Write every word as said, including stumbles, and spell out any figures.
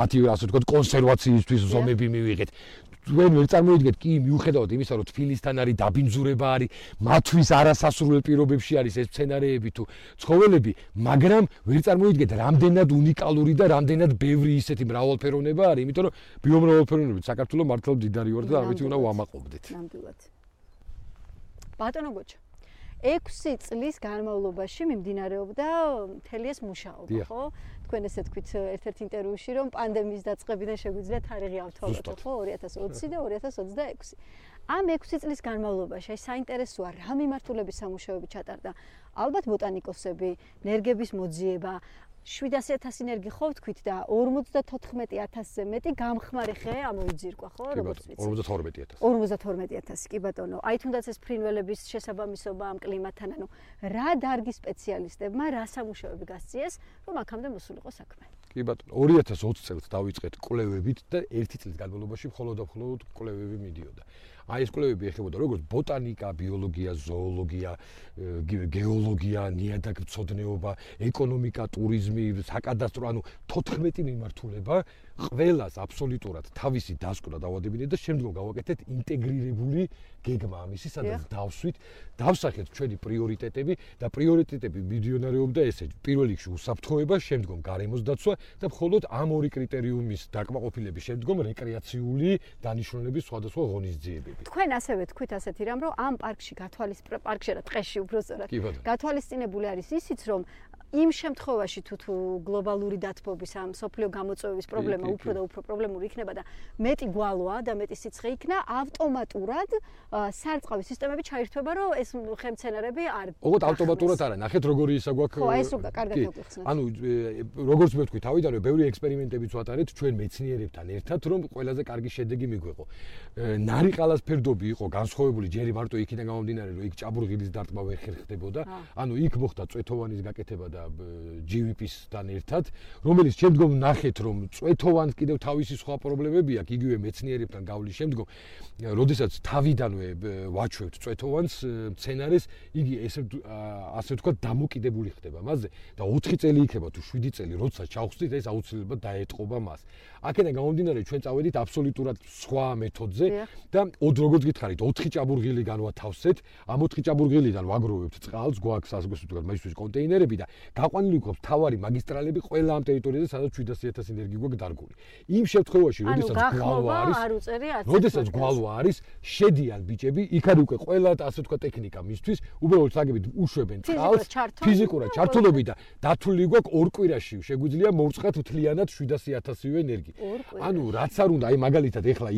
ათი ასე ვთქვათ კონსერვაციისთვის ზომები მივიღეთ. When we წარმოიდგეთ კი მიუხედავად იმისა, რომ თბილისთან არის დაბინძურება არის, მათთვის არასასურველ პირობებში არის ეს სცენარეები თუ ცხოველები, მაგრამ ვერ წარმოიდგეთ რამდენად უნიკალური და რამდენად ბევრი ისეთი მრავალფეროვნება არის, იმიტომ რომ ბიომრავალფეროვნებით საქართველოს მართლა მდიდარი ვარ და ამით უნდა ვამაყობდეთ. ნამდვილად. ბატონო გოჩა ექვსი წლის განმავლობაში მიმდინარეობდა მთელი ეს მუშაობა, ხო? თქვენ ესე თქვით ერთ-ერთ ინტერვიუში, რომ პანდემიის დაწყებიდან შეგვიძლია თარიღი ავთვალოთ, ხო? ორი ათას ოცი და ორი ათას ოცდაექვსი. ამ ექვსი წლის განმავლობაში საინტერესოა რა მიმართულების სამუშაოები ჩატარდა. ალბათ ბოტანიკოსები, ნერგების მოძიება, შვიდასი ათასი ნერგი ხო ვთქვით და ორმოცდათოთხმეტი ათასზე მეტი გამხმარი ხე ამოიძირკვა, ხო? როგორც ვიცი. ორმოცდათორმეტი ათასი. ორმოცდათორმეტი ათასი, კი ბატონო. აი თუნდაც ეს ფრინველების შესაბამისობა ამ კლიმატთან, ანუ რა დარგის სპეციალისტებმა რა სამუშაოები გასწიეს, რომ აქამდე მოსულიყო საქმე. კი ბატონო, ორი ათას ოცი წელს დავიწყეთ კვლევებით და ერთი წლის განმავლობაში მხოლოდ და მხოლოდ კვლევები მიდიოდა. აი ეს კვლევები ეხებოდა როგორც ბოტანიკა, ბიოლოგია, ზოოლოგია, გეოლოგია, ნიადაგმცოდნეობა, ეკონომიკა, ტურიზმი, საკადასტრო, ანუ თოთხმეტი მიმართულება, ყველას აბსოლუტურად თავისი დასკვნა დავადებინეთ და შემდგომ გავაკეთეთ ინტეგრირებული გეგმა ამისი, სადაც დავსვით, დავსახეთ ჩვენი პრიორიტეტები და პრიორიტეტები მიდიონარეობდა ესე: პირველ რიგში უსაფრთხოება, შემდგომ გარემოს დაცვა და მხოლოდ ამ ორი კრიტერიუმის დაკმაყოფილების შემდგომ რეკრეაციული დანიშნულების სხვადასხვა ღონისძიებები. თქვენ ასევე თქვით ასეთი რამ, რომ ამ პარკში გათვალის პარკში რა ტყეში უბრალოდ გათვალისწინებული არის ისიც, რომ იმ შემთხვევაში თუ თუ გლობალური დათბობის ამ სოფლიო გამოწვევის პრობლემა უფრო და უფრო პრობლემური იქნება და მეტი გვალვაა და მეტი სიცხე იქნა, ავტომატურად სარწყავი სისტემები ჩაირთვება, რომ ეს ხემცენარები არ ოღონდ ავტომატურად არა, ნახეთ როგორი ისა გვაქვს. ხო, ეს უკვე კარგად მოგიხსნათ. ანუ როგორც მე ვთქვი, თავიდანვე ბევრი ექსპერიმენტებიც ვატარეთ ჩვენ მეცნიერებთან ერთად, რომ ყველაზე კარგი შედეგი მიგვეყო. ნარიყალას ფერდობი იყო განსხვავებული ჯერი მარტო იქიდან გამომდინარე, რომ იქ ჭაბურღილის დარტყმა ვერ ხერხდებოდა, ანუ იქ მოხდა წვეთოვანის გაკეთება და ჯი ვი პი-სთან ერთად, რომელიც შემდგომ ნახეთ, რომ წვეთოვანს კიდევ თავისი სხვა პრობლემები აქვს, იგივე მეცნიერებთან გავლის შემდგომ, როდესაც თავიდანვე ვაჩვევთ წვეთოვანს მცენარეს, იგი ესე ასე ვთქვათ დამოკიდებული ხდება მასზე და ოთხი წელი იქნება თუ შვიდი წელი, როცა ჩავხსნით, ეს აუცილებლად დაეტყობა მას. აქედან გამომდინარე, ჩვენ წავედით აბსოლუტურად სხვა მეთოდზე და როგორც გითხარით, ოთხი ჭაბურღილი განვათავსეთ, ამ ოთხი ჭაბურღილიდან ვაგროვებთ წყალს, გვაქვს ასე ვთქვათ, მაგისთვის კონტეინერები და გაყვანილი გვაქვს მთავარი მაგისტრალები ყველა ამ ტერიტორიაზე, სადაც შვიდასი ათასი ენერგი გვაქვს დარგული. იმ შემთხვევაში, როდესაც გვალვა არის, როდესაც გვალვა არის, შედიან ბიჭები, იქ არის უკვე ყველა ასე ვთქვათ ტექნიკა მისთვის, უბრალოდ საგებით უშვებენ წყალს, ფიზიკურად ჩართულობი და დათვლილი გვაქვს ორ კვირაში შეგვიძლია მოვწყათ მთლიანად შვიდასი ათასივე ენერგი. ანუ რაც არ უნდა, აი მაგალითად ეხლა